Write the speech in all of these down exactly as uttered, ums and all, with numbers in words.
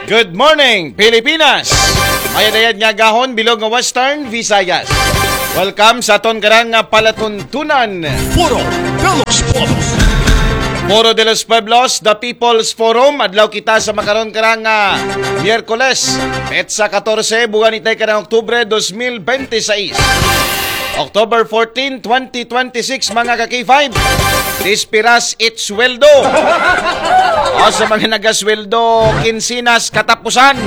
Good morning, Pilipinas! Mayad-ayad nga agahon, bilog nga Western Visayas. Welcome sa aton karang nga palatuntunan. Foro de los Pueblos. Foro de los Pueblos, the People's Forum. Adlaw kita sa makaron karang nga Miyerkules, petsa katorse, buwan itay karang Oktubre dos mil bente seis. October fourteen, twenty twenty-six, mga ka-K five. Dispiras it sweldo. O sa mga nagasweldo, kinsinas katapusan.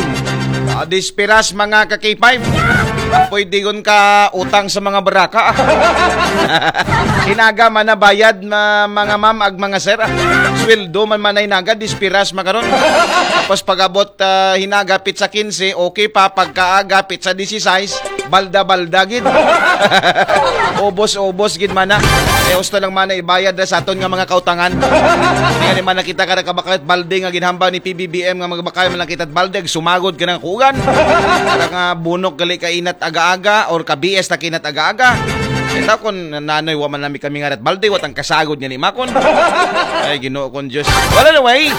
O, dispiras, mga ka-K five. Pwede gun ka utang sa mga baraka. Hinaga man na bayad, ma- mga ma'am ag mga sir. Sweldo man man na hinaga, dispiras makaron. Tapos pag-abot, ah, hinaga, petsa kinse, okay pa. Pagkaaga, petsa disisais, balda-balda gid. Ubos-ubos gid man na. Kaya gusto lang man na ibayad na sa aton nga mga kautangan. Kaya di man nakita ka nakabakal balde nga ginhamba ni P B B M nga magbakal man lang kita balde, sumagod ka ng kugan. Para nga bunok gali ka inat aga-aga or ka B S ta kinat aga-aga. Ito kung nanoy wa man nami kami nga rat balde, watang kasagod nga ni Makon. Ay, Ginoo kong Diyos. Well, anyway,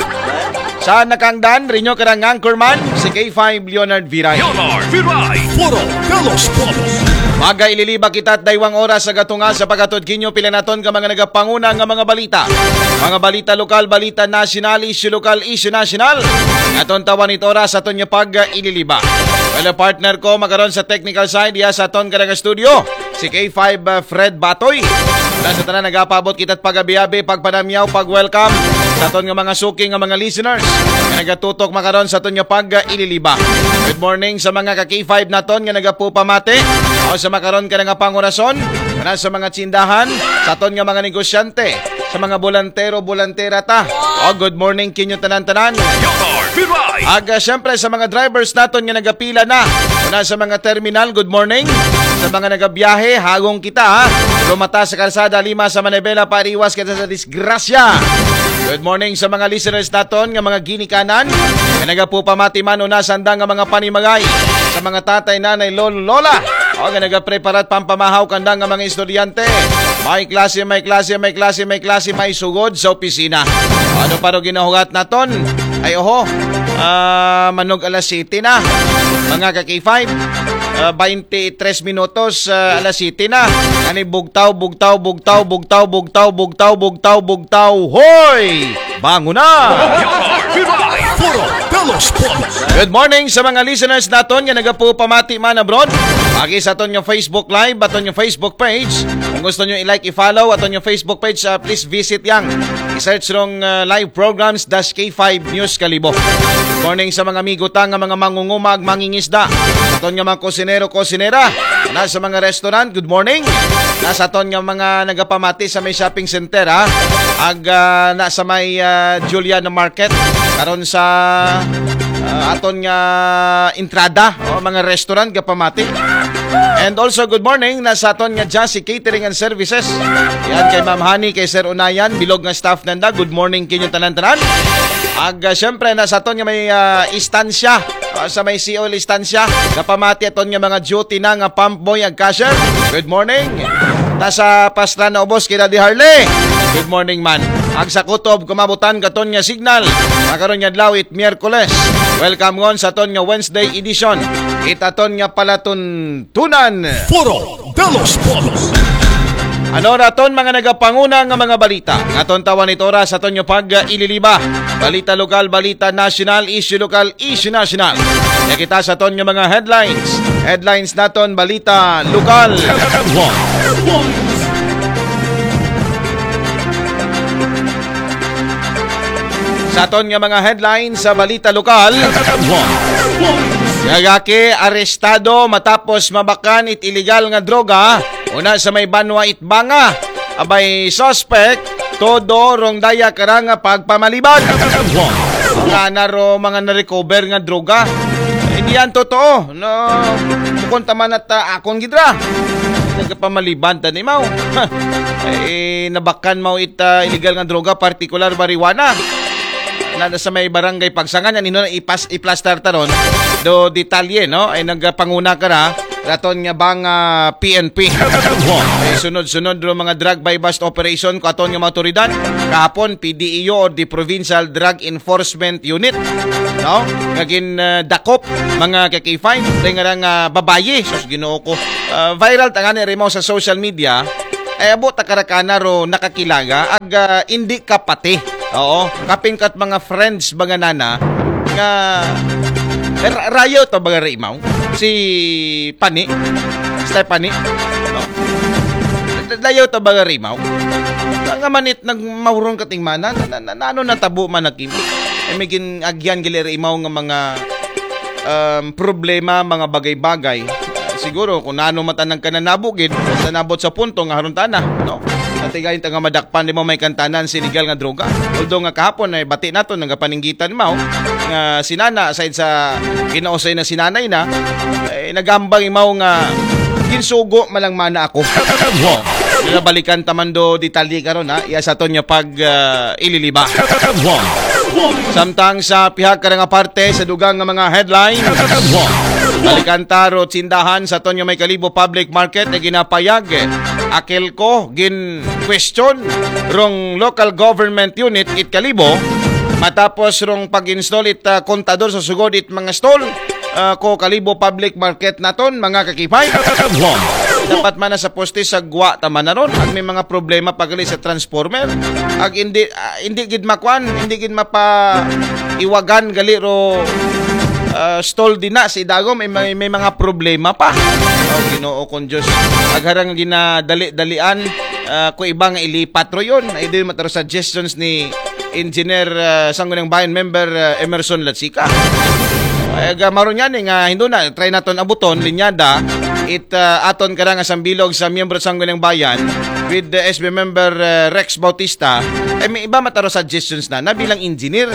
sa nakangdan, rinyo karang anchorman, si K five Leonard Viray. Leonard Viray. Foro de los Pueblos. Magaililiba kita at daywang oras sa gatunga sa paghatod kinyo pila naton ka mga nagapanguna nga mga balita. Mga balita lokal, balita nasyonal, isyu lokal, isyu nasyonal. Aton tawan it oras aton nga pag-ililiba. Well, partner ko, makaron sa technical side, ya sa aton karang studio. Si K five, uh, Fred Batoy. Wala sa tanan nagapabot kita't pag-abi-abi, pagpanamyaw, pag-welcome sa aton nga mga suki nga mga listeners nga nagatutok makaron sa aton nga pag-ililiba. Good morning sa mga ka K five naton nga nagapupamati o sa makaron ka nga pangurason, na sa mga tsindahan, sa aton nga mga negosyante, sa mga bolantero, bolantera ta. O, good morning kinyo tanan-tanan. Your Viray. Aga, syempre, sa mga drivers naton nga nagapila na. Una sa mga terminal, good morning. Sa mga nagabiyahe, hagong kita, ha. Lumata sa kalsada, lima sa Manibela, pariwas kita sa disgrasya. Good morning sa mga listeners naton nga mga ginikanan. Nga nagapupamati man una sa andang nga mga panimagay. Sa mga tatay, nanay, lolo, lola. O nga nagapreparat pampamahaw kandang nga mga estudyante. May klase, may klase, may klase, may klase, may sugod sa opisina. Ano pa ro ginahugat naton? Ay, oho. Ah, manog alas siyete na. Mga ka K five. Ah, twenty-three minutos, ah, alas siyete na. Ani bugtaw, bugtaw, bugtaw, bugtaw, bugtaw, bugtaw, bugtaw, bugtaw. Hoy! Bangon na! Your Viray. Foro de los Pueblos. Good morning sa mga listeners naton nga nagapupamati man abroad. Agi sa aton nga Facebook Live, aton nga Facebook page. Kung gusto nyo i-like, i-follow aton nga Facebook page, ah, please visit yang. I-search rong, ah, live programs dash K five News Kalibo. Good morning sa mga amigo ta nga mga mangungumag, mangingisda. Aton nga mga kusinero, kusinera. Na sa mga restaurant, good morning. Na sa aton nga mga nagapamati sa may shopping center, ha. Ag, ah, na sa may, ah, Juliana Market. Karon sa, ah, aton nga entrada, o, mga restaurant, gapamati. And also, good morning na sa aton nga Jassy Catering and Services. Yan kay Ma'am Honey, kay Sir Unayan, bilog nga staff nanda. Good morning kinyo tanan-tanan. Ag, ah, syempre, na sa aton nga may, ah, istansya, ah, sa may C O L istansya, gapamati aton nga mga duty na nga pump boy ag cashier. Good morning. Nasa pastra na ubos kay Daddy Harley. Good morning man. Ag sa kutob, kumabutan katon nga signal. Makaron nga adlaw it Miyerkules. Welcome ngon sa aton nga Wednesday edition. It aton nga palatuntunan. Foro de los Pueblos. Ano naton mga nagapanguna nga mga balita? Aton tawan it oras aton nga pag-ililiba. Balita lokal, balita nasyonal, isyu lokal, isyu nasyonal. Kaya kita sa aton nga mga headlines. Headlines naton, balita lokal. Sa aton nga mga headlines sa balita lokal. Lalaki arestado matapos mabakan it illegal nga droga. Una sa may Banwa Itbanga. Abay, suspect, todo rong daya karang nga pagpamaliban. Mga naro, mga na-recover nga droga. Hindi yan totoo. No, bukon taman at, ah, akon gidra. Nagpamaliban tanimaw. Eh, nabakan mo it, ah, illegal nga droga, partikular marijuana. Na sa may barangay Pagsangan, yan, ino, ipas, iplastar taron. Do detalye, no? Ay nagpanguna ka ra. raton nga bang ah, P N P. Eh, sunod-sunod ro mga drug buy-bust operation ko aton nga mga otoridad. Kahapon, P D E U or the Provincial Drug Enforcement Unit, no? Nga gin ah, dakop mga ka-K five, dahil nga nga babayi, sus, Ginoo ko. Ah, viral ta nga ni Rimaw sa social media, ay abo ta karakana ro nakakilaga ag ah, indi kapati. Oo, kapin kat mga friends mga nana nga ra- rayo to baga Rimaw, si Pani, Stephanie, no? Rayo to baga Rimaw. Nga manit nagmahurong kating mana na, na, na, ano natabo man nakim. Ay may gin-agyan gali Rimaw nga mga um, problema, mga bagay-bagay. Siguro kung nano man tanang kananabo gid sa nabot sa punto nga haron tana, no? Ati gayon ta nga madakpan di mo may kantanan si legal nga droga. Although nga kahapon ay bati nato nagapaninggitan mao nga sinana aside sa kinausay na sinanay na, eh, nagambang imaw nga ginsugo malang mana ako. Nabalikan tamando detalye karon ha. Iya sa aton nga pag ah, ililiba. Samtang sa pihak ka nga parte sa dugang nga mga headlines, balikan ta ro tindahan sa aton nga may Kalibo Public Market na ginapayag. Akil ko, gin question rong local government unit it Kalibo matapos rong pag-install it ah, kontador sa sugod it mga stall ah, ko Kalibo Public Market naton, mga kakipay. Dapat man na sa poste sa gwa tama na ron. Ag may mga problema pagali sa transformer. Ag hindi ah, hindi gid makwan, hindi gid mapa iwagan gali ro ah, stall din na si Dago may, may, may mga problema pa. Oh, Ginoo kong Diyos. Agharang ginadali-dalian ah, ko iba nga ilipat ro yun. Ay din mataro suggestions ni Engineer ah, Sangguniang Bayan member ah, Emerson Latsika. Ay, aga, maron yan eh, nga hindi na, try naton abuton, linyada, it ah, aton ka nga sambilog sa miyembro sa Sangguniang Bayan with the S B member ah, Rex Bautista, eh, may iba mataro suggestions na, na bilang engineer.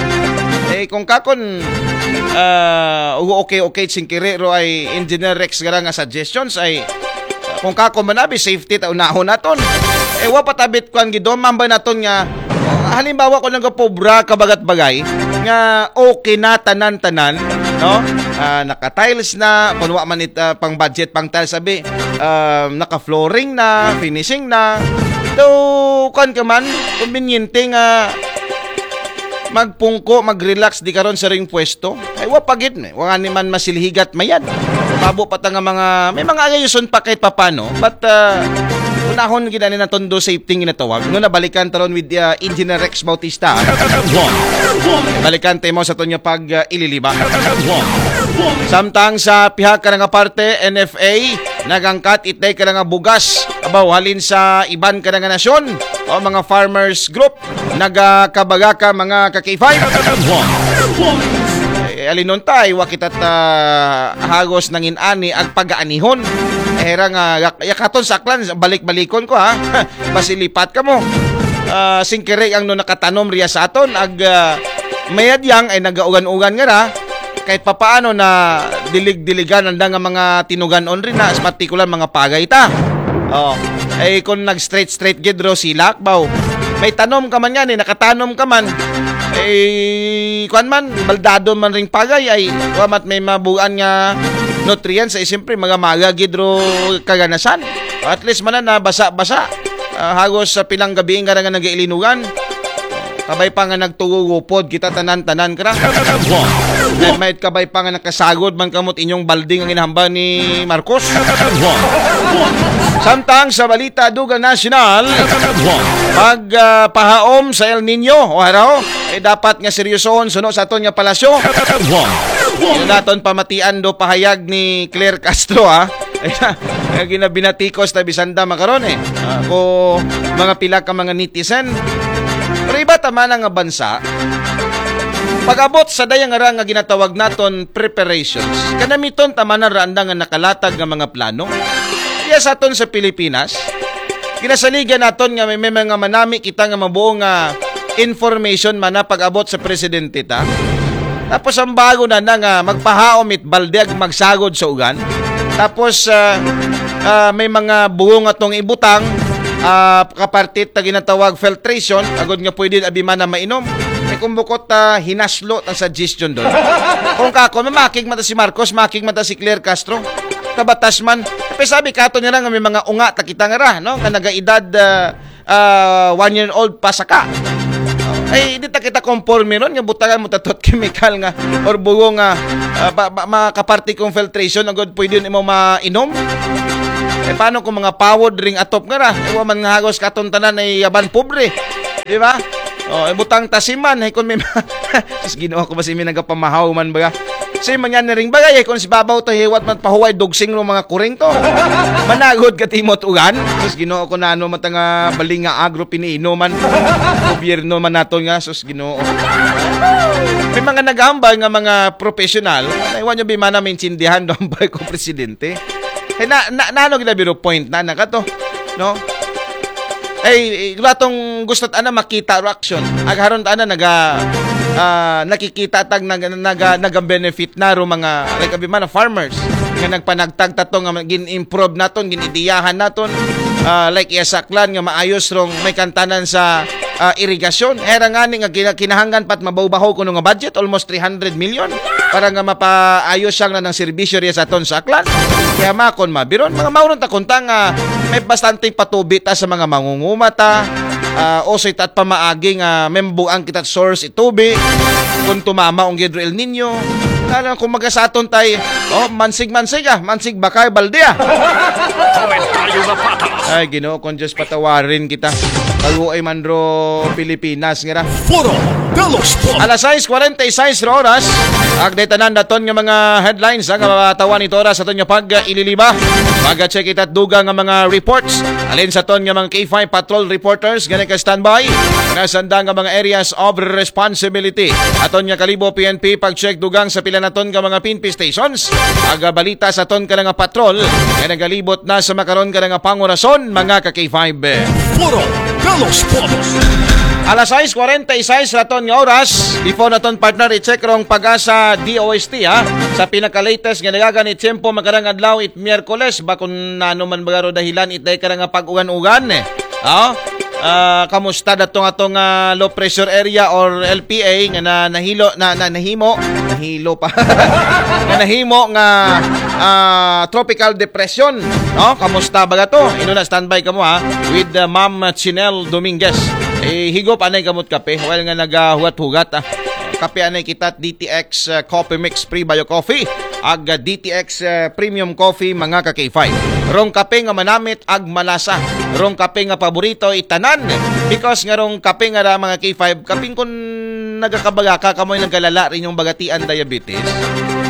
Eh, kung kakon, ah, okay, okay, singkiri ro ay Engineer Rex gara nga suggestions ay kung kako manabi, safety ta unahon naton. Eh, wa patabit kwan gidomam ba naton nga halimbawa ko nagapobra kabagat bagay nga okay na tanan-tanan, no? Ah, naka-tiles na, kung wa man it ah, pang budget pang tiles sabi, ah, naka-flooring na, finishing na. Though kwan ka man, kumbinyente nga magpungko, mag-relax di karon sa ring pwesto. Ay wa pagit ni, wa nga ni man masilhigat mayad. Babo pa ta nga mga may mga ayuson pa kahit papano, but uh, unahon gid ani naton do safety nga ginatawag. No, nabalikan taron with uh, Engineer Rex Bautista. Balikan temo sa tunyo pag uh, ililiba. Samtang sa pihak ka nga parte, N F A nagangkat itay ka nga bugas abaw halin sa iban ka nga nasyon o mga farmers group nagakabaga ka mga ka-K five. Eh, alinon tay, wa kita ta hagos nangin ani ag pagaanihon. Eh, era nga yak- yakaton saklan, balik-balikon ko ha. Basilipat ka mo. Ah, singkiri ang no nakatanom riya sa aton ag ah, mayad yang ay nagaugan-ugan nga ra kahit papaano na dilig-diligan anda nga mga tinuganon rin na, sa partikular mga pagay ta. Oh, ay kung nag-straight-straight gid ro silak baw. May tanom ka man yan eh, nakatanom ka man. Eh, kwan man, baldado man ring pagay ay, wa mat may mabuan nga nutrients ay siyempre mga maga gid ro kaganasan. At least man na basa-basa. Ah, hagos sa pilang gabi nga nga nag-iilinugan. Kabay pa nga nagtugo gupod kita tanan-tanan kra. Na may kabay pa nga nakasagod man kamot inyong balding ang inahamba ni Marcos. Samtang sa balita dugang nasyonal, pag ah, pahaom sa El Nino o haraw, eh, dapat nga seryosohon suno sa aton nga palasyo. Yun naton pamatian do pahayag ni Claire Castro ha. Ay, nga ginabinatikos na bisanda makaron eh. Ah, ko mga pila ka mga netizen. Pero iba tama na nga bansa, pag-abot sa dayang ara nga ginatawag naton preparations, kanamiton tama na ra anda nga nakalatag nga mga plano. Iya sa aton sa Pilipinas, ginasaligan naton nga may, may mga manami kita nga mabuo nga information man na pag-abot sa presidente ta. Tapos ang bago na na nga magpahaom it balde ag magsagod sa ugan. Tapos ah, ah, may mga buo nga tong ibutang ah, kapartit ta ginatawag filtration agod nga pwede abi man na mainom. Ay kung bukot ta hinaslo ta suggestion doon. Kung kako, mamakig mata si Marcos, makig mata si Claire Castro. Kabatas man. Kay sabi kato nila nga may mga unga ta kita nga ra, no? Nga nagaedad, ah, ah, one year old pa saka. Ay, di ta kita konporme ron nga butangan mo tatot chemical nga or bugo nga, ah, ba, ba, makaparte kong filtration na good pwede yun imo mainom. Eh, paano kung mga pawod ring atop nga ra? Eh, wa man nga hagos katon tanan ay yaban pobre. Di ba? Oh, ibutang tasiman, eh, kung may ma-, sus, Ginoo ko, basi may nagapamahaw man baga. Si manyan na ring bagay, eh, kung si babaw to, hiwat man pahuway, dugsing ng mga kuring to. Managod ka timot ugan. Sus, Ginoo ko, na ano, matanga baling nga agro piniinuman. Gobyerno man nato nga, sus, Ginoo. May mga nagambal nga mga professional, na iwan nyo bimana maintindihan doon ba ko presidente? Eh, na, na, na ano gina biro point na, na ka to? No? Ay, ratong gusto ta na makita ro action. Agaharon ta na naga, ah, nakikita tag naga, naga, naga benefit na ro mga, like, abi man, farmers nga nagpanagtag tato nga gin-improve naton, gin-ideyahan naton. Ah, like, iya sa Aklan nga maayos rong may kantanan sa, ah, irigasyon. Era nga ni nga kina-, kinahanglan pat mabaw-bahaw kuno nga budget, almost three hundred million para nga mapaayos siyang na ng serbisyo riya sa aton sa Aklan. Kaya makon mabiron, mga mauron ta kunta nga may bastante patubi ta sa mga mangungumata, ah, usoy ta at pamaagi nga membuang kita source itubi, kung tumama ang Gidro El Nino, alam kung magasaton tay, oh, mansig-mansig ah, mansig bakay balde ah. Komentaryo na patas. Ay, Ginoo, kung Diyos patawarin kita. Kaluoy man ro Pilipinas, nga ra. Foro de los Pobres. Alas sais kwarenta y sais ra oras. Agdetanan naton nga mga headlines, ang matawan ito oras aton nga pag-ililiba. Pag-check kita dugang nga mga reports. Alin sa ton nga mga K five patrol reporters, gani ka standby. Nasanda nga mga areas of responsibility. Aton nga kalibo P N P, pag-check dugang sa pila naton nga mga P N P stations. Aga balita sa ton ka nga patrol. Nga nagalibot na sa makaron ka nga pangurason, mga ka K five. Foro de los Pobres. Alas sais kwarenta y sais raton nga oras. Before naton, partner, i-check rong pag-asa D O S T, ha. Sa pinaka-latest nga nagaganit tiyempo, makarang adlaw it Miyerkules, ba kun nano man bagaro dahilan it day karang nga pag-ugan-ugan, eh. Oh? Ah, kamusta datong atong, ah, low pressure area or L P A nga na, nahilo na, na nahimo, nahilo pa. Nga nahimo nga, ah, tropical depression, no? Kamusta ba to? Ino na, standby kamo, ha, with, ah, Ma'am Chinel Dominguez. Eh, higop anay kamot kape, while nga nagahugat-hugat, ah. Kape anay kita, D T X, ah, Coffee Mix Prebio Coffee, ag, ah, D T X, ah, Premium Coffee, mga ka K five. Rong kape nga manamit ag malasa. Rong kape nga paborito itanan. Because nga rong kape nga ra, mga K five, kaping kun nagakabaga ka, kamoy nagkalala rin yung bagatian diabetes.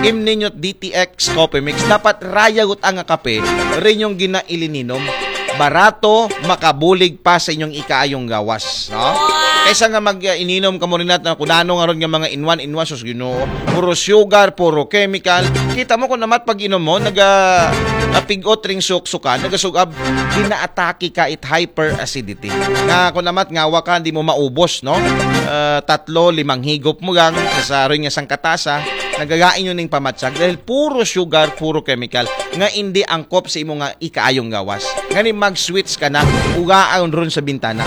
Im ninyo D T X Coffee Mix. Dapat raya gut ang kape rin yung ginailininom. Barato, makabulig pa sa inyong ikaayong gawas, no? Kaysa nga mag, uh, ininom ka mo rin natin, kung ano nga ron nga mga inwan, inwan, sus Ginoo. Puro sugar, puro chemical. Kita mo kung namat pag inom mo, naga, napigot ring suksukan, nagasugab, ginaatake ka it hyperacidity. Nga kung namat ngawa ka, di mo maubos, no? Ah, tatlo, limang higop mo gang, sa rin nga sangkatasa, nagagain yun ning pamatsag dahil puro sugar, puro chemical. Nga hindi angkop sa imo nga ikaayong gawas. Nga ni mag-switch ka na, ugaan ron sa bintana.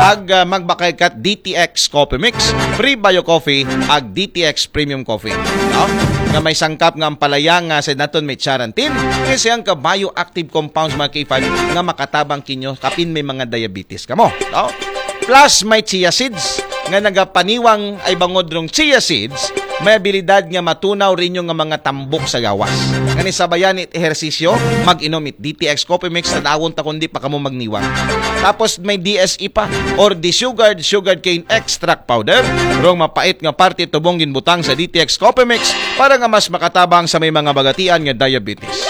Ag, ah, magbakay ka D T X Coffee Mix, Prebio Coffee, ag D T X Premium Coffee. No? Nga may sangkap nga ampalaya nga sa naton may charantin, kasi ang ka-bioactive compounds, mga K five, nga makatabang kinyo kapin may mga diabetes kamo. No? Plus may chia seeds nga nagapaniwang ay bangod rong chia seeds, may abilidad nga matunaw rin yung nga mga tambok sa gawas. Nga ni sabayan it ehersisyo, mag-inom it D T X Coffee Mix, tanawon ta kundi pa kamo magniwang. Tapos may D S E pa, or the sugared sugarcane extract powder, rong mapait nga parte tubong ginbutang sa D T X Coffee Mix para nga mas makatabang sa may mga bagatian nga diabetes.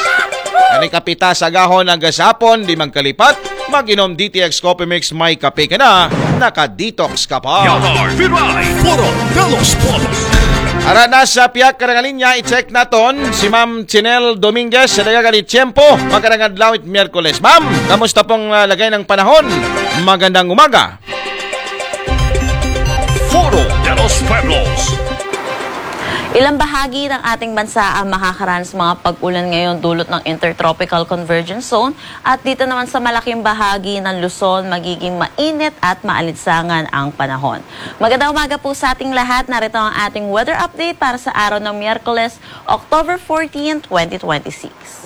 Ani kapita sa gahon ang gasapon, di magkalipat, mag-inom D T X Coffee Mix, may kape ka na, naka-detox ka pa. Yamar Viray, Foro de los Pobres. Ara na sa piyak ka nga linya, i-check naton si Ma'am Chinel Dominguez sa nagaganit tiyempo, magandang adlaw it Miyerkules. Ma'am, kamusta pong, ah, lagay ng panahon? Magandang umaga. Foro de los Pueblos. Ilang bahagi ng ating bansa ang makakaranas ng mga pag-ulan ngayon dulot ng Intertropical Convergence Zone at dito naman sa malaking bahagi ng Luzon magiging mainit at maalinsangan ang panahon. Magandang umaga po sa ating lahat. Narito ang ating weather update para sa araw ng Miyerkules, October fourteen, twenty twenty-six.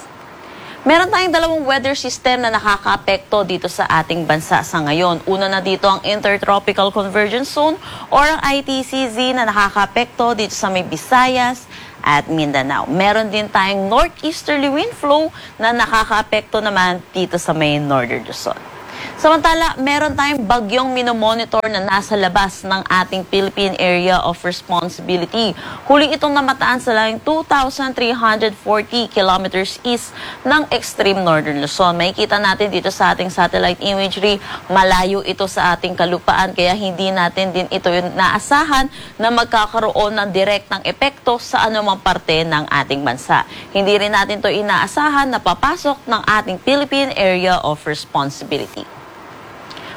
Meron tayong dalawang weather system na nakakaapekto dito sa ating bansa sa ngayon. Una na dito ang Intertropical Convergence Zone or ang I T C Z na nakakaapekto dito sa may Visayas at Mindanao. Meron din tayong northeasterly wind flow na nakakaapekto naman dito sa may Northern Luzon. Samantala, meron tayong bagyong minomonitor na nasa labas ng ating Philippine Area of Responsibility. Huli itong namataan sa layong two thousand three hundred forty kilometers east ng extreme northern Luzon. Makikita natin dito sa ating satellite imagery, malayo ito sa ating kalupaan kaya hindi natin din ito naasahan na magkakaroon ng direktang epekto sa anumang parte ng ating bansa. Hindi rin natin ito inaasahan na papasok ng ating Philippine Area of Responsibility.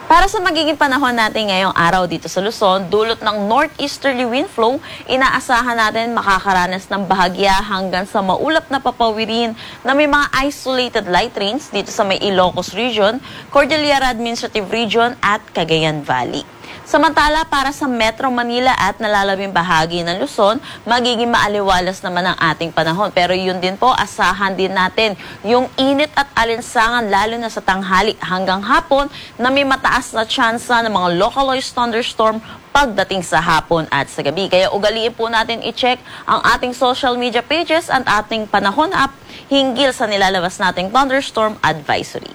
Para sa magiging panahon natin ngayong araw dito sa Luzon, dulot ng northeasterly wind flow, inaasahan natin makakaranas ng bahagya hanggang sa maulap na papawirin na may mga isolated light rains dito sa may Ilocos Region, Cordillera Administrative Region at Cagayan Valley. Samantala, para sa Metro Manila at nalalabing bahagi ng Luzon, magiging maaliwalas naman ang ating panahon. Pero yun din po, asahan din natin yung init at alinsangan lalo na sa tanghali hanggang hapon na may mataas na tsansa ng mga localized thunderstorm pagdating sa hapon at sa gabi. Kaya ugaliin po natin i-check ang ating social media pages at ating panahon app hinggil sa nilalabas nating thunderstorm advisory.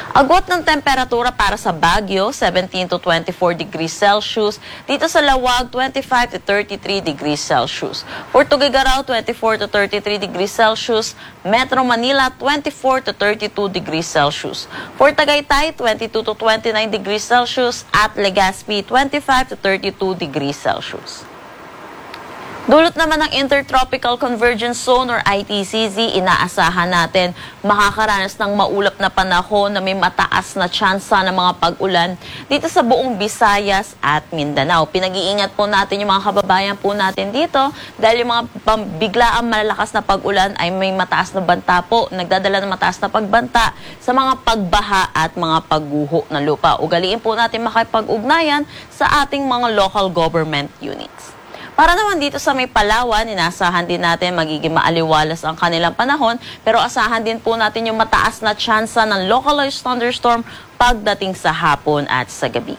Agwat ng temperatura para sa Baguio, seventeen to twenty-four degrees Celsius. Dito sa Laoag, twenty-five to thirty-three degrees Celsius. For Tuguegarao, twenty-four to thirty-three degrees Celsius. Metro Manila, twenty-four to thirty-two degrees Celsius. For Tagaytay, twenty-two to twenty-nine degrees Celsius. At Legazpi, twenty-five to thirty-two degrees Celsius. Dulot naman ng Intertropical Convergence Zone or I T C Z, inaasahan natin makakaranas ng maulap na panahon na may mataas na tsansa ng mga pag-ulan dito sa buong Visayas at Mindanao. Pinag-iingat po natin yung mga kababayan po natin dito dahil yung mga pam- biglaang malalakas na pag-ulan ay may mataas na banta po, nagdadala ng mataas na pagbanta sa mga pagbaha at mga pagguho ng lupa. Ugaliin po natin makipag-ugnayan sa ating mga local government units. Para naman dito sa may Palawan, inasahan din natin magiging maaliwalas ang kanilang panahon, pero asahan din po natin yung mataas na tsansa ng localized thunderstorm pagdating sa hapon at sa gabi.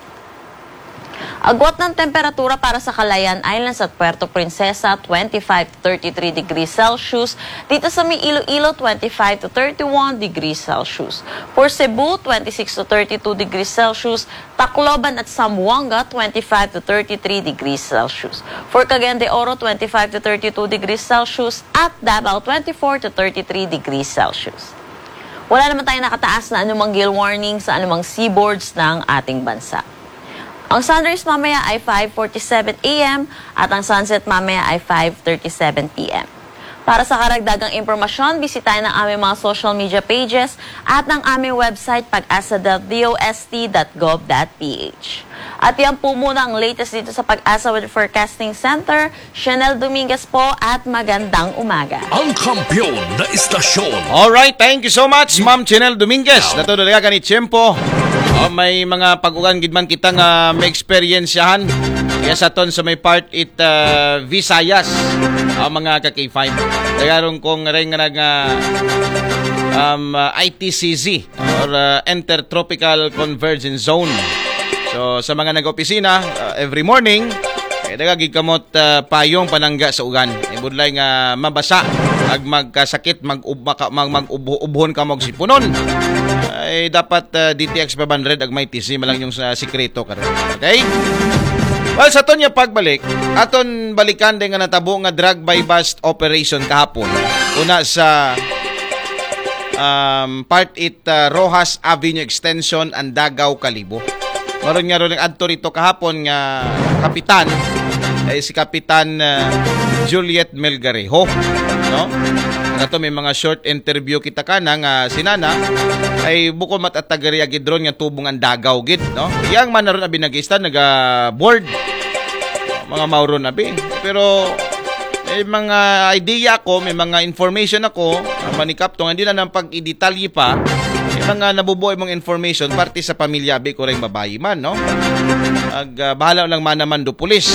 Agwat ng temperatura para sa Calayan Islands at Puerto Princesa, twenty-five to thirty-three degrees Celsius. Dito sa may Iloilo, twenty-five to thirty-one degrees Celsius. For Cebu, twenty-six to thirty-two degrees Celsius. Tacloban at Zamboanga, twenty-five to thirty-three degrees Celsius. For Cagayan de Oro, twenty-five to thirty-two degrees Celsius. At Davao, twenty-four to thirty-three degrees Celsius. Wala naman tayong nakataas na anumang gale warning sa anumang seaboards ng ating bansa. Ang sunrise mamaya ay five forty-seven a m at ang sunset mamaya ay five thirty-seven p m. Para sa karagdagang impormasyon, bisitahin ang aming mga social media pages at ang aming website, pag asa dot d o s t dot gov dot p h. At yan po muna ang latest dito sa Pag-asa Weather Forecasting Center. Chanel Dominguez po at magandang umaga. Ang kampiyon na istasyon. Alright, thank you so much, Ma'am Chinel Dominguez. Dato dalaga ni Tiempo. Oh, may mga pag-ulan gid man kita nga may eksperyensyahan. Kaya sa ton sa may part it uh, Visayas, ang mga ka-K five. Tagarong kong ring nga um, uh, I T C Z or uh, Intertropical Convergence Zone. So sa mga nag-opisina, uh, every morning, eh, daga gid kamot uh, payong panangga sa ugan. Ibudlay nga mabasa ag magkasakit, mag, mag, mag ubhon ka mo sipunon. Ay dapat uh, D T X five hundred ag may T C malang yung sa sikreto karon. Okay? Well, sa ton niya pagbalik, aton balikan din nga natabo nga drug buy bust operation kahapon. Una sa um, part it uh, Rojas Avenue Extension, Andagaw, Kalibo. Maron nga ron nag-adto rito kahapon nga kapitan ay si Kapitan uh, Juliet Melgarejo, no? Kato may mga short interview kita kana nga sinana ay bukod mat at tagariya gid ron nga tubong ang dagaw gid, no? Yang man na ron abi nag-ista naga board mga mauron abi. Pero May mga idea ako, may mga information ako, ah, Manikap, tong hindi na ng pag-idetalye pa, may mga nabubuhay mong information, parte sa pamilya, abi ko rin babae man, no? Ag, ah, bahala lang man naman do pulis.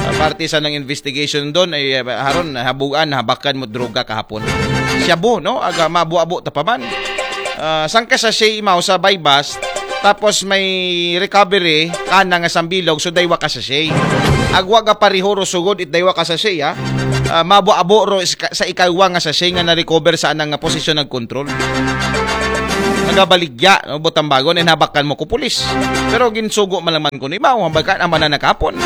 Ah, parte sa nang investigation doon, ay, ah, haron, habuan, habakan mo droga kahapon. Shabu, no? Aga, mabu-abo ta pa man. Ah, sangka sachet imaw sa buy bust, tapos may recovery, kana nga sambilog, so daywa ka sachet. Agwa ga parihuro sugod it daywa ka sachet, ha? Ah, mabu-abo ro is-, sa ikaywa nga sachet nga na-recover sa anang nga posisyon ng control. Nagabaligya, no? Butang bago, na hinabakan mo ko pulis. Pero ginsugo man lang man ko ni Mao, hambakan ang mananakapon.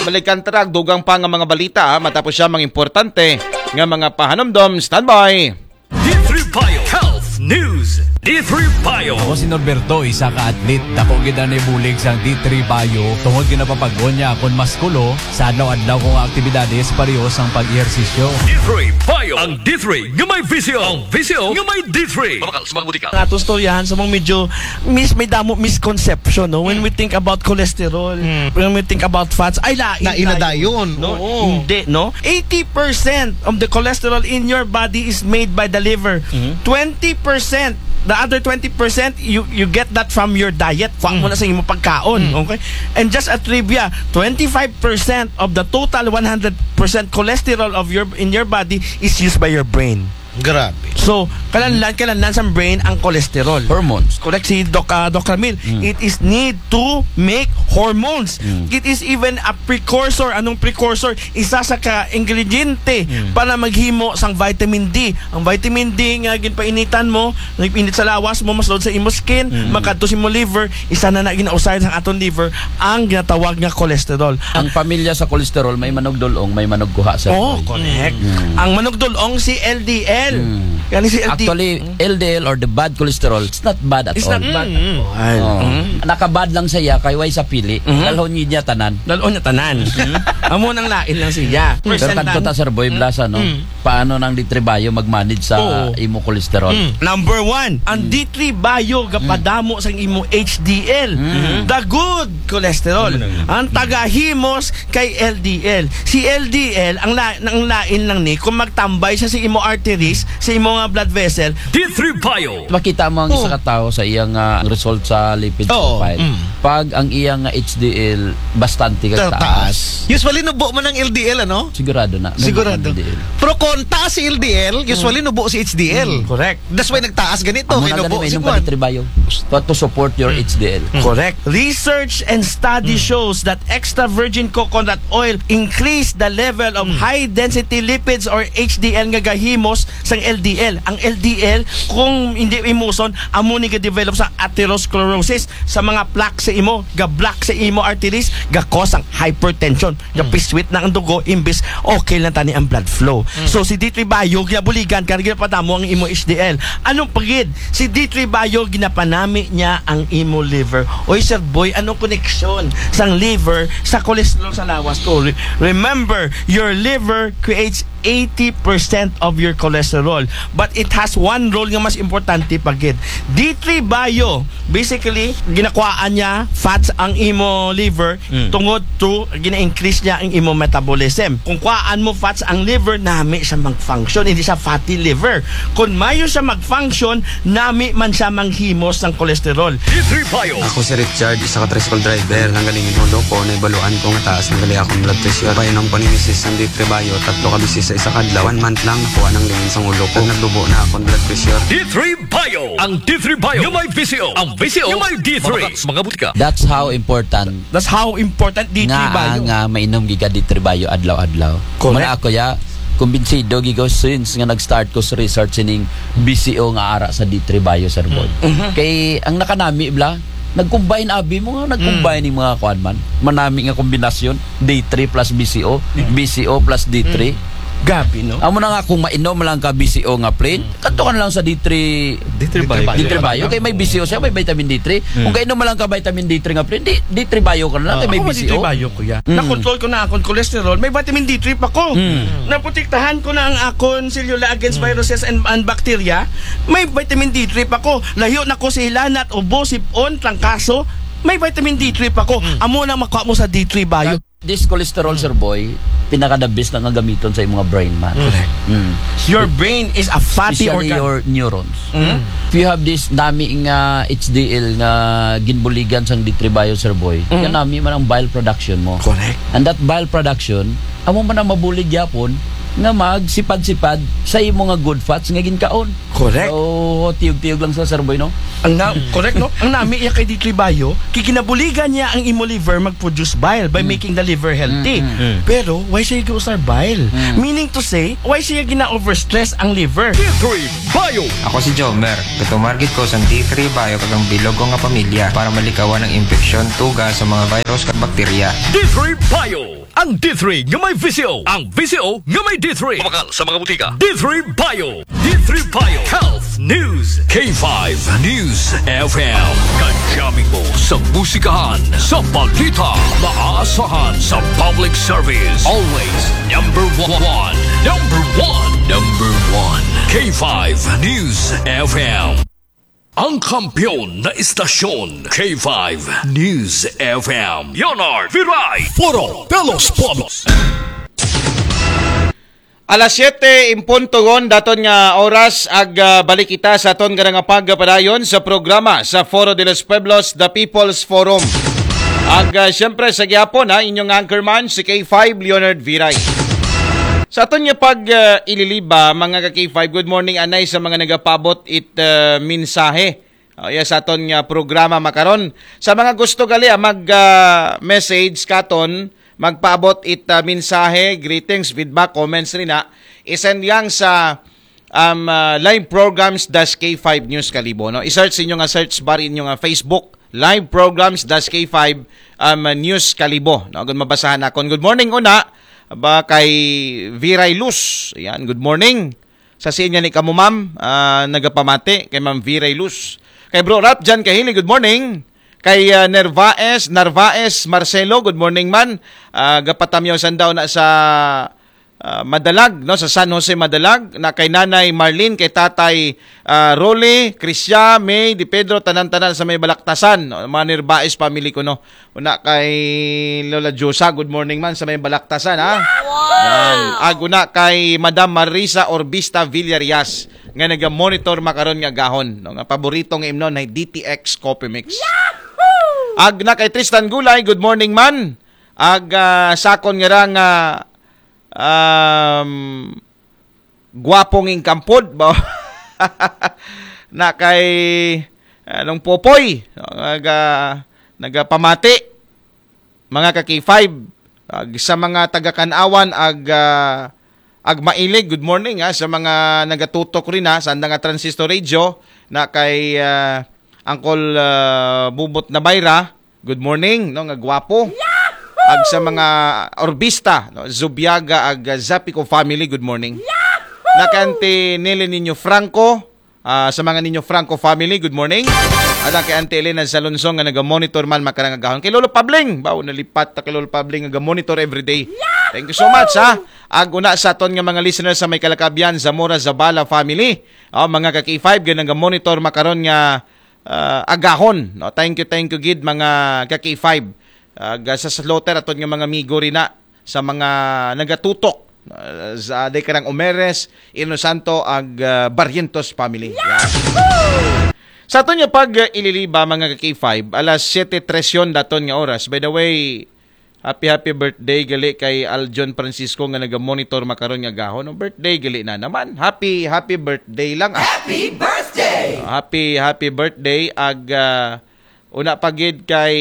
Balikan ta ra, dugang pa nga mga balita, ha? Matapos siya, mga importante nga mga pahanumdom. Standby! D three Bio Health News. D three Bio. Ako si Norberto, isa ka athlete. Dako gid ang ibulig sa D three Bio tungod ginapapag-on niya akon maskulo sa adlaw-adlaw kong aktibidades pareho sang pag-ehersisyo. D three Bio. Ang D three nga may visyo. Ang visyo nga may D three. Mabakal sa mga butika. Ang atong storyahan sa mga medyo mis may damo misconception, no? When we think about cholesterol, when we think about fats, ay lain Lain na dayon. No? Oo. Hindi, no? Eighty percent of the cholesterol in your body is made by the liver. Twenty percent, the other twenty percent, you you get that from your diet. Kuha mo na sa imong pagkaon, okay? And just a trivia, twenty-five percent of the total one hundred percent cholesterol of your in your body is used by your brain. Grabe. So, kalanlan, kalanlan sa brain ang cholesterol. Hormones. Correct si Doc, ah, Doc Ramil. It is need to make hormones. It is even a precursor. Anong precursor? Isa sa ka-ingrediente para maghimo sang vitamin D. Ang vitamin D nga ginpainitan mo, nagpainit sa lawas mo, mas load sa imo skin, makadto sa imo liver, isa na na ginausay sa aton liver ang ginatawag nga cholesterol. Ang pamilya sa cholesterol, may manugdulong, may manugkuha sa Oh, correct. Ang manugdulong si L D L. Kani si L D L. Actually, L D L or the bad cholesterol, it's not bad at It's all. not bad at all. Oh. Nakabad lang siya kay way sa pili. Dalhon niya tanan. Dalhon niya tanan. Amo nang lain lang siya. Pero kadto ta, Sir Boy Blasa, no? Paano nang D three Bio mag-manage sa Oo. imo cholesterol? Number one, ang D three Bio gapadamo sang imo H D L. The good cholesterol. Ang tagahimos kay L D L. Si L D L, ang, la ang lain lang ni, kung magtambay siya sa imo arteries, sa imo nga blood vessel, D three Bio. Makita mo ang isa ka tao sa iyang, ah, result sa lipid Oo. profile. Pag ang iyang, ah, H D L bastante kag Ta- taas. taas. Usually, nubo man ang L D L, ano? Sigurado na. Nubo Sigurado. ang L D L. Pero kung taas si L D L, usually nubo si H D L. Correct. That's why nagtaas ganito. Amo kay na nubo gani may si inom Juan. ka D three Bio to, to support your H D L. Correct. Research and study shows that extra virgin coconut oil increase the level of high density lipids or H D L nga gahimos sang L D L. Ang L D L, kung hindi imuson, amo ni ga-develop sa atherosclerosis, sa mga plaque sa imo, ga-block sa imo arteries, ga-cause ang hypertension, ga-piswit na ang dugo, imbis okay lang tani ang blood flow. So, si D three Bio, ginabuligan ka, ginapadamo ang imo H D L. Anong pagid? Si D three Bio, ginapanami niya ang imo liver. Oy, Sir Boy, anong koneksyon sang liver sa cholesterol sa lawas ko? Re- remember, your liver creates eighty percent of your cholesterol. But it has one role nga mas importante pagid. D three Bio, basically, ginakuhaan niya fats ang imo liver tungod to gina-increase niya ang imo metabolism. Kung kuhaan mo fats ang liver, nami siya mag-function, hindi siya fatty liver. Kung mayo siya mag-function, nami man siya manghimos sang cholesterol. D three Bio. Ako si Richard, isa ka tricycle driver. Nanggaling yung ulo ko, naibaluan ko nga taas na gali akong blood pressure. Painom ko ni misis ang D three Bio, tatlo ka bisis sa isa ka adlaw. One month lang, nakuha ng lingin sang ulo ko. Nagdubo na akong blood pressure. D three Bio. Ang D three Bio. Yung may visyo. Ang visyo. Yung may D three. Mga, mga butika. That's how important That's how important D three nga, Bio. nga mainom giga D three Bio adlaw-adlaw. Correct. Muna ako ya, kumbinsido giga since nga nag-start ko sa research sining B C O nga ara sa D three Bio, Sir Boy. Kay ang nakanami bla, nag-combine abi mo nga, nag-combine yung mga kuan man. Manami nga kombinasyon, D three plus B C O, B C O plus D three. Gabi, no? Amo na nga, kung mainom lang ka B C O nga plain, kanto ka na lang sa D three, D three Bio. D three Bio. Kay may B C O siya, may vitamin D three. Kung kainom lang ka vitamin D three nga plain, di, D three Bio ka na lang, kay may Ako, B C O. D three Bio, kuya. Nakontrol ko na akong cholesterol, may vitamin D three pa ko. Naprotektahan ko na ang akong selula against viruses and, and bacteria, may vitamin D three pa ko. Layo na ko sa hilanat, ubo, sipon, trangkaso, may vitamin D three pa ko. Amo na makuha mo sa D three Bio. This cholesterol, Sir Boy, pinaka the best na nga gamiton sa imong brain man. Correct. Mm. Your brain is a fatty Especially organ. Your neurons. Mm. If you have this nami nga H D L nga ginbuligan sang D three Bio, Sir Boy, Mm. nga nami man ang bile production mo. Correct. And that bile production, amo man ang mabulig yapon nga magsipad-sipad sa imo nga good fats nga ginkaon. Correct. So, tiyog-tiyog lang sa, Sir Boy, no? Ang na, correct, no? Ang nami iya kay D three Bio, kiginabuligan niya ang imo liver mag-produce bile by making the liver healthy. Mm, mm. Pero, why siya giusar bile? Mm. Meaning to say, why siya gina-overstress ang liver? D three Bio. Ako si Jomer. Gatumar gid ko sa D three Bio kag ang bilog ko nga pamilya para malikawan ang impeksyon, tuga sa mga virus kag bakterya. D three Bio. Ang D three nga may V C O. Ang V C O nga may D three. Mabakal sa mga butika. D three Bio. D three Bio. Health News. K five News F M. Kajaming mo sa musikahan, sa balita, maaasahan sa public service. Always number one. Number one. Number one. K five News F M. Ang kampiyon na istasyon, K five News F M. Leonard Viray. Foro de los Pueblos. Alas siyete en punto gon daton nga oras ag ah, balik kita sa aton nga nga pagpadayon sa programa sa Foro de los Pueblos, The People's Forum. Ag ah, siyempre sa gihapon ha, inyong anchorman si K five Leonard Viray. Sa aton nga pag ah, ililiba, mga ka K five, good morning anay sa mga nagapabot it ah, mensahe. Oh, yes, sa aton nga programa makaron. Sa mga gusto gali ah, mag ah, message katon, magpaabot it ah, mensahe, greetings, feedback, comments rin na. I-send lang sa um, ah, live programs dash K five News Kalibo, no? I-search inyo nga search bar inyo nga Facebook, live programs dash K five um, News Kalibo, no? Kung mabasahan akon. Good morning una. Ba kay Viray Luz. Ayan, good morning. Sa siya niya ni kamo, ma'am, ah, nagapamati kay Ma'am Viray Luz. Kay Bro Rap Jan Kahili, good morning. Kay ah, Nervaes, Narvaes Marcelo, good morning man. Ah, gapatamyaw sandaw na sa ah, Madalag, no, sa San Jose Madalag, na kay Nanay Marlene, kay Tatay ah, Rolly, Krisya, May, Di Pedro, tanan-tanan sa may Balaktasan, no? Mga Nervaes family ko, no. Una kay Lola Josa, good morning man sa may Balaktasan, ha? Yan. Ag una kay Madam Marisa Orbista Villarias nga naga-monitor makaron nga gahon, no, nga paborito nga imnon ay D T X Coffee Mix. Ag na kay Tristan Gulay, good morning man. Ag ah, sakon nga ra nga um, gwapong ingkampod ba? Na kay anong Popoy, no, naga, nagapamati, mga ka K five. Ag sa mga taga Kanawan, ag ah, ag mailig, good morning ha, sa mga nagatutok rin ha sa anda nga transistor radio, na kay ah, Uncle ah, Bubot Nabayra, good morning, no, nga gwapo. Ag sa mga Orbista, no, Zubiaga ag ah, Zapico family, good morning. Na kay Auntie Nelly Niño Franco, ah, sa mga Niño Franco family, good morning. Ag kay Auntie Elena Salonson nga naga-monitor man makarang agahon. Kay Lolo Pabling, bawo nalipat ta kay Lolo Pabling nga monitor everyday. Thank you so much ha. Ag una sa aton nga mga listeners sa may Kalakabian, Zamora, Zabala family. Oh, mga ka K five nga naga-monitor makaron nga ah, agahon, no? Thank you, thank you gid mga ka K five. Ag sa slaughter aton nga mga amigo rin na sa mga nagatutok ah, sa day karang Omeres, Inosanto ag ah, Barrientos family. Yan. Sa aton nga pag ah, ililiba, mga ka K five, alas siyete trese daton nga oras. By the way, happy happy birthday gali kay Aljon Francisco nga naga-monitor makaron nga gahon. No, birthday gali na naman. Happy happy birthday lang. Ah, Happy birthday! happy happy birthday ag ah, una pa gid kay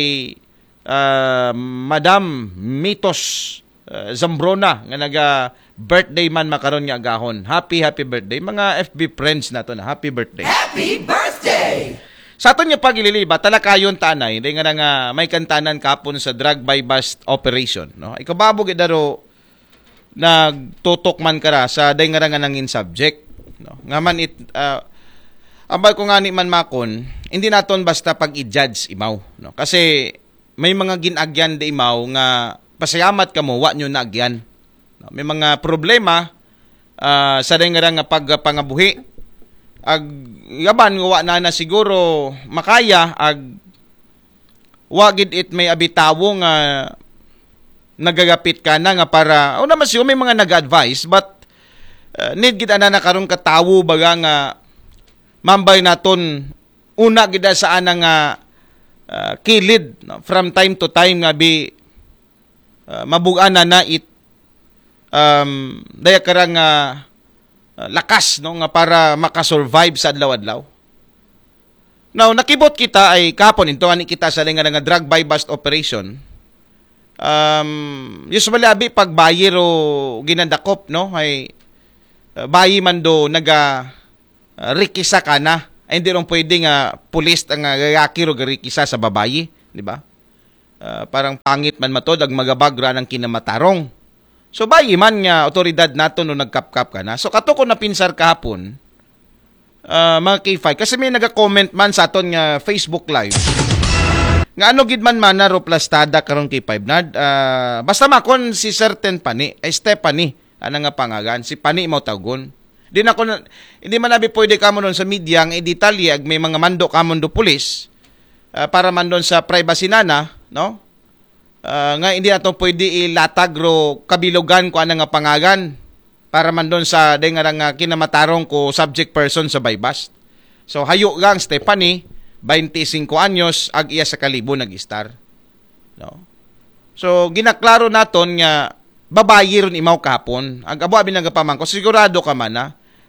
ah, Madam Mitos ah, Zambrona nga naga birthday man makaron nga agahon. Happy happy birthday mga F B friends nato na. Happy birthday. Happy birthday! Sa aton nga pagililiba, talakayon tanay, di nga na nga may kantanan kapon sa drug buy bust operation, no? Ikababo gid daro nagtutok man kara sa day nga nga nangin subject, no? Nga man it ah, ambal ko nga ni man makon, hindi naton basta pag i-judge imaw, no? Kasi may mga ginagyan di imaw nga pasayamat kamo wa nyo naagyan. No? May mga problema ah, sa day nga nga pagpangabuhi. Ag yaban nga wa na na siguro makaya ag wa gid it may abitawo nga nagagapit ka na nga para, o naman siguro may mga nag-advise, but uh, need gid ana na karon ka tawo baga nga mambay naton una gid sa ana nga uh, kilid, no? From time to time nga bi uh, mabugan na na it um, daya karang uh, uh, lakas, no, nga para makasurvive sa adlaw-adlaw. Now, nakibot kita ay kapon into ani kita sa linga nga drug buy bust operation. Um, usually abi pag buyer o ginadakop, no, ay uh, bayi man do naga uh, rikisa ka na. Ay hindi ron pwede nga pulis ang uh, gagaki o garikisa sa babayi, di ba? Uh, parang pangit man matod ang magabag ra ng kinamatarong. So bayi man nga otoridad nato no nagkapkap ka na. So kato ko napinsar kahapon, uh, mga K five, kasi may naga-comment man sa aton nga Facebook Live. Nga ano gid man mana ro plastada karon K five Nard? Uh, basta makon si certain pani, ay Stephanie, ana nga pangagan, si pani mao tawgon. Di na ko na, hindi man abi pwede kamo nun sa media nga idetalye ag may mga mando kamo do pulis uh, para man doon sa privacy nana, no? Uh, nga hindi nato pwede ilatag ro kabilugan ko ana nga pangagan para man doon sa day nga nga kinamatarong ko subject person sa buy bust. So hayo gang Stephanie, twenty-five anyos, ag iya sa kalibo nag-istar. No? So ginaklaro naton nga babayi ron imaw kahapon. Ang abo abi nagapamangko, sigurado ka man na.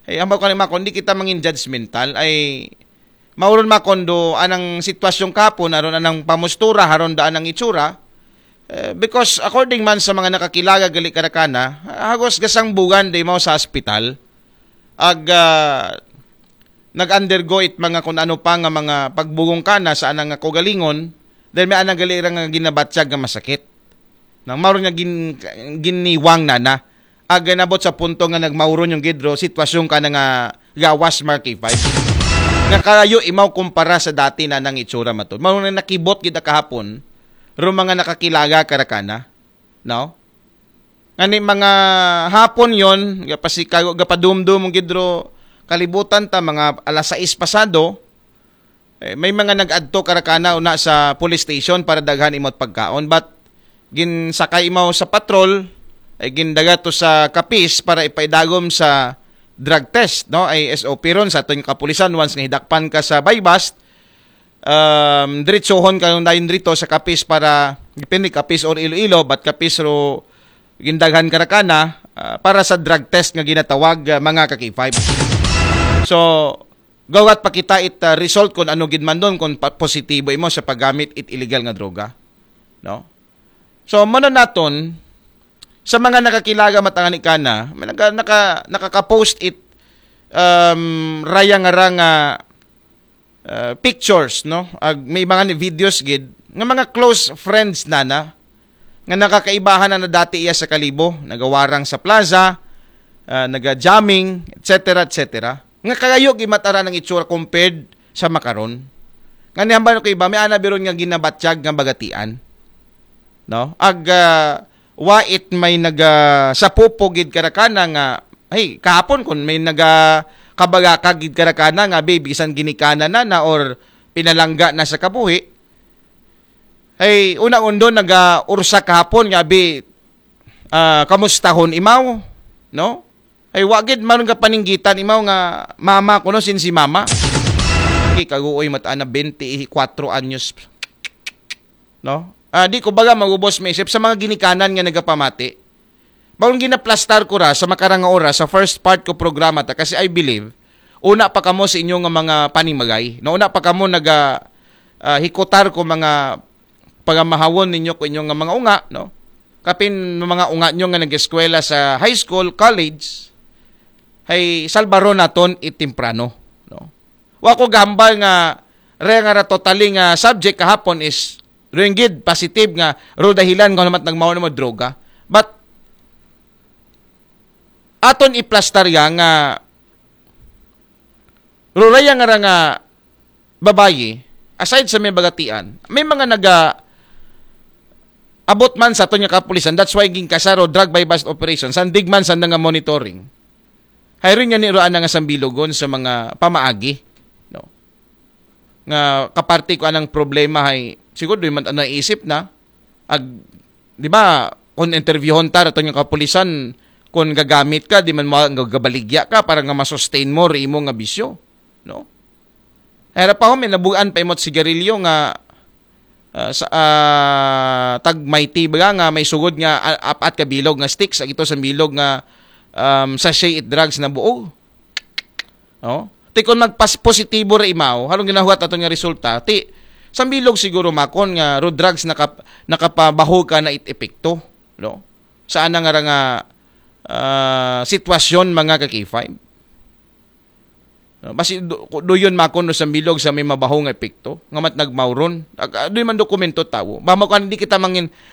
Ay, ang ko ni Mako, hindi kita mangin judgmental ay mauron makondo anang sitwasyon kapon aron anang pamustura haron da anang itsura. Eh, because according man sa mga nakakilaga gali karakana, hagos gasang bugan day mao sa hospital. Ag ah, nag-undergo it mga kung ano pa nga mga pagbugong kana sa anang kaugalingon, dahil may anang gali ra nga ginabatyag nga masakit. Nang maro nga gin, giniwang nana. Ag nabot sa punto nga nagmauron yung gidro, sitwasyon ka na nga gawas Mark A five. Nga kalayo imaw kumpara sa dati na nang itsura matod. Maro na nakibot gid kahapon, ro mga nakakilaga karakana, no? Ngani mga hapon yon, gapasikago, gapadumdum gidro kalibutan ta mga alas sais pasado, eh, may mga nag-adto karakana una sa police station para daghan imot pagkaon, but ginsakay imaw sa patrol, ay gindaga to sa Capiz para ipaidagom sa drug test, no? Ay S O P ron sa aton kapulisan once nga hidakpan ka sa buy bust, um, diretsohon ka nung dayon dito sa Capiz para depende Capiz or Iloilo, but Capiz ro gindaghan karakana uh, para sa drug test nga ginatawag uh, mga ka-K five. So, gawat pa kita it uh, result kung ano gid man doon kung pa- positibo imo sa paggamit it illegal nga droga, no? So mano naton sa mga nakakilaga matangani kana, may naka, naka, nakaka-post it um, raya nga ra nga uh, pictures, no? Ag may mga ni videos gid nga mga close friends na na nga nakakaibahan na, na dati iya sa kalibo, nagawarang sa plaza, uh, naga-jamming, et cetera, et cetera. Nga kagayo gimatara ng itsura compared sa makaron. Nga nihambal ko iba, may ana biron nga ginabatyag nga bagatian. No? Ag uh, wa it may naga sapupo gid karakana nga, hey, kahapon kun may naga kabagaka gid karakana nga be bisan ginikanan na na or pinalangga na sa kabuhi. Hey, una undo naga ursa kahapon nga be uh, kamustahon imaw, no? Ay wa gid man nga paninggitan imaw nga mama kuno sin si mama. Kay kaguoy mata na twenty-four anyos. No? Ah, di ko baga magubos maisip sa mga ginikanan nga nagapamati. Bawon ginaplastar ko ra sa makarang nga oras sa first part ko programa ta kasi I believe una pa kamo sa inyo nga mga panimagay. No, una pa kamo naga ah, hikutar ko mga pagamahawon ninyo ko inyo nga mga unga, no? Kapin mga unga nyo nga nag-eskwela sa high school, college, hay salbaron naton it temprano, no? Wa ko gahambal nga re nga ra totally nga subject kahapon is ringgid positive nga ro dahilan nga naman nagmahon mo droga. But aton iplastar ya nga ruraya nga ra nga babayi, aside sa may bagatian, may mga naga abot man sa aton nga kapulisan. That's why ginkasaro drug buy bust operation, sandig man sa nga monitoring. Hayron nga ni Roan nga sambilogon sa mga pamaagi, no? Nga kaparte ko anang problema hay siguro di man naisip na ag di ba kung interviewhon ta, raton nga kapulisan, kung gagamit ka, di man mo gabaligya ka para nga masustain mo ri imo nga bisyo, no? Era pa ho, may nabugaan pa imot sigarilyo nga ah, sa ah, tag Mighty ba nga may sugod nga ah, apat ka bilog nga sticks, ag ito sa bilog nga um, sachet it drugs na buo. No? Ti kung magpas positibo ra imaw, halong ginahuwat aton nga resulta, ti sa bilog siguro makon nga ro drugs nakap, nakapabaho ka na it epekto, no? Sa ana nga ra nga ah, sitwasyon, mga ka K five. No? Basi do, duyon makon no sa bilog sa may mabaho nga epekto, nga mat nagmawron. Ag, ah, doy man dokumento tawo. Ba mo kan di kita mangin